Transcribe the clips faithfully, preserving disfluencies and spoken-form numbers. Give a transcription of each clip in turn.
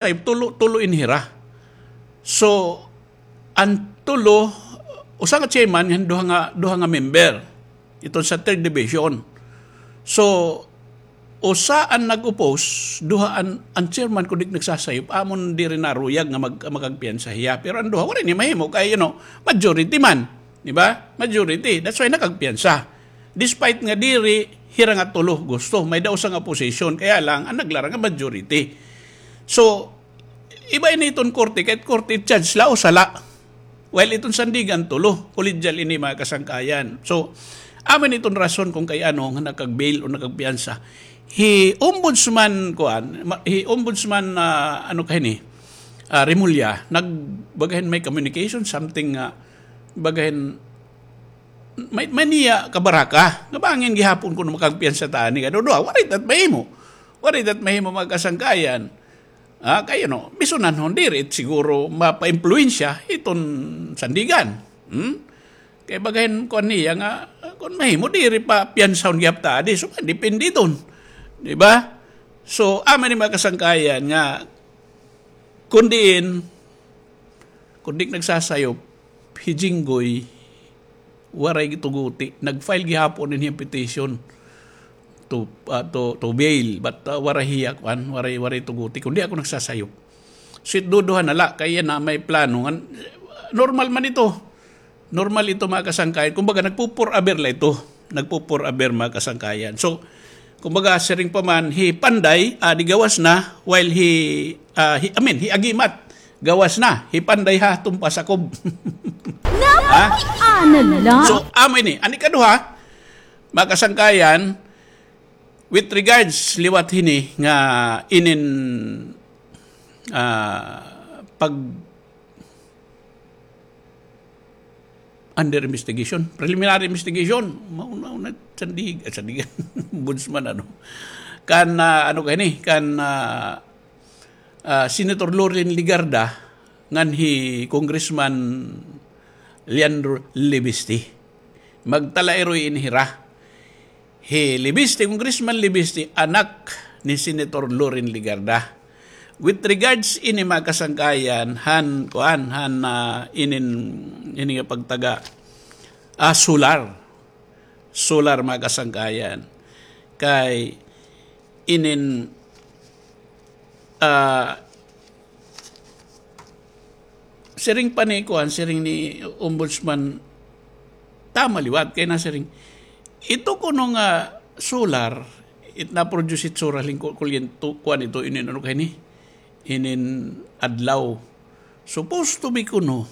tulo, tulo in hira. So, an tulo, usa nga chairman, ngan duha nga, duha nga member. Iton sa third division. So, usa an nag-oppose, duha an, an chairman, kon di ak nagsasayop, amon diri naruyag nga mag-, makagpiyansa hiya. Pero an duha, waray ni mahimo, kay, you know, majority man. Di ba? Majority. That's why nakagpiyansa. Despite nga diri hira nga tulo gusto, may-ada usa nga opposition, kaya lang, an naglara nga majority. So, iba ini iton korte, kay korte judge la, usa la. While iton Sandigan, tulo. Collegial ini, mga kasangkayan. So, amo ini iton rason kon kay ano nga nakag-bail o nakagpiyansa. Hi Ombudsman, kuan, ma-, hi Ombudsman, ah, ano ka hini? Ah, Remulla, nag-, baga hin may communication, something nga, baga hin may, may niya kabaraka. Nga bangin gihapon kuno makagpiyansa ta ani. Ano, duha, waray ta mahimo. Waray ta mahimo, mga kasangkayan. Ah, kay, you know, bisan an hon diri siguro mapaimpluwensya iton Sandigan. Hmm? Kay baga hin kuan niya nga, kon mahimo diri pa piyansahon gihap ta adi. So, depende iton. Di ba? So, amo ini, mga kasangkayan, nga kon diin, kon di ak nagsasayop, hi Jinggoy, waray tuguti. Nag-file gihapon ini petition to, ah, to, to bail, but, ah, waray hiya, kuan, waray, waray tuguti. Kon di ako nagsasayop. So, it duduha na la, kay yana may plano. Ngan, normal man ito. Normal ito, mga kasangkayan. Kumbaga, nagpupuraber la ito. Nagpupuraber, mga kasangkayan. So, kumbaga, siring pa man, hi Panday, ah, di gawas na, while hi, ah, hi, I mean, hi Agimat, gawas na. Hi Panday ha, tumpa sakob. Ha? Ano la? So, amo ini. An ikaduha, mga kasangkayan, with regards liwat hini nga inin, ah, pag under investigation, preliminary investigation, mauna-una, Sandig-, ah, Sandigan, Ombudsman, ano. Kan, ah, ano ka ini, kan, ah, ah, Senator Loren Legarda, ngan hi Congressman Leandro Leviste. Magtalairoy ini hira. Hi Leviste, Congressman Leviste, anak ni Senator Loren Legarda. With regards ini, mga kasangkayan, han, kuan, han, ah, inin, ini nga pagtaga, ah, solar. Solar, mga kasangkayan. Kay inin, ah, siring pa ni kuan, siring ni Ombudsman, tama liwat, kay nasiring, ito kuno nga solar, it na-produce it solar hin ku-, kuryento, kuan ito, inin ano kay ni, inin adlaw. Supposed to be kuno,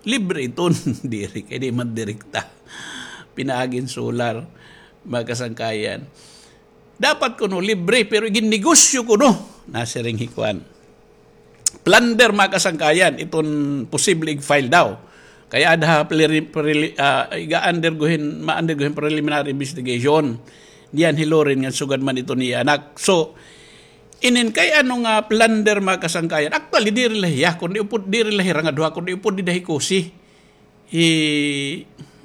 libre iton, diri kay di man direkta pinaagi hin solar, mga kasangkayan. Dapat kuno libre, pero iginnegosyo kuno. Nasiring hi kuan. Plunder, mga kasangkayan, iton posible ig-file daw. Kay aada ha preli-, preli-, ah, iga-undergo hin, ma-undergo hin preliminary investigation. Niyan hi Loren ngan sugad man iton iya anak. So, inin kay ano nga plunder, mga kasangkayan. Actually, diri la hiya, kundi upod, diri la hira nga duha, kundi upod dida hi Cosi. Hi,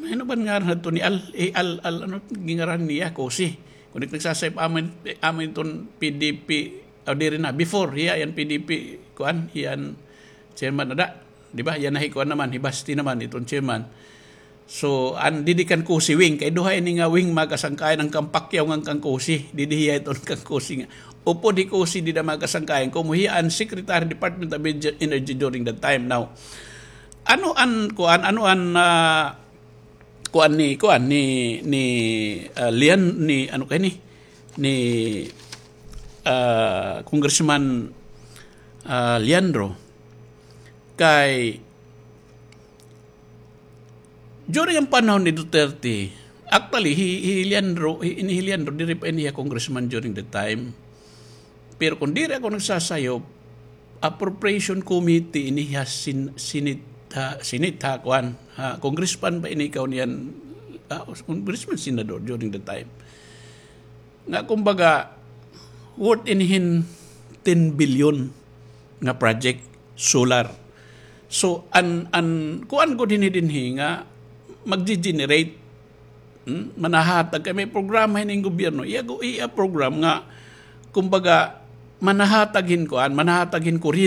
ano ba ngaran hadto ni Al, hi Al, Al, ano, gingaran niya, Cosi. Kundi nagsasayop amo, amo iton P D P, o diri na, before, hiya an P D P, kuan, hiya an chairman ada. Di ba? Yana hi kuan naman, hi Basti naman, iton chairman. So, an didi kan Cosi wing, kay duha ini nga wing, mga kasangkayan, an kan Pacquiao ngan kan Cosi, didi hiya iton kan Cosi nga. Upod hi Cosi dida, mga kasangkayan, komo hiya an Secretary Department of Energy during that time. Now, ano an, kuan, ano an, ah, kuan ni, kuan ni, ni, ah, Lian, ni, ano kay ni, ni, ah, Congressman, ah, Leandro, kay during an panahon ni Duterte, actually, hi, hi Leandro, hi, ini hi Leandro, diri pa ini hiya congressman during the time. Pero kon diri ako nagsasayop, appropriation committee ini ha sin-, Senate, ha, Senate ha, kuan, ha, congressman ba ini ikaw niyan, ah, congressman, senador during the time. Nga kumbaga, worth ini hin ten billion nga project, solar. So, an, an, kuan gud hini dinhi nga magge-generate, hmm, manahatag kay may programa hini hin gobyerno. Iya gu-, iya program nga, kumbaga, manahatag hin kuan, manahatag hin kuryente.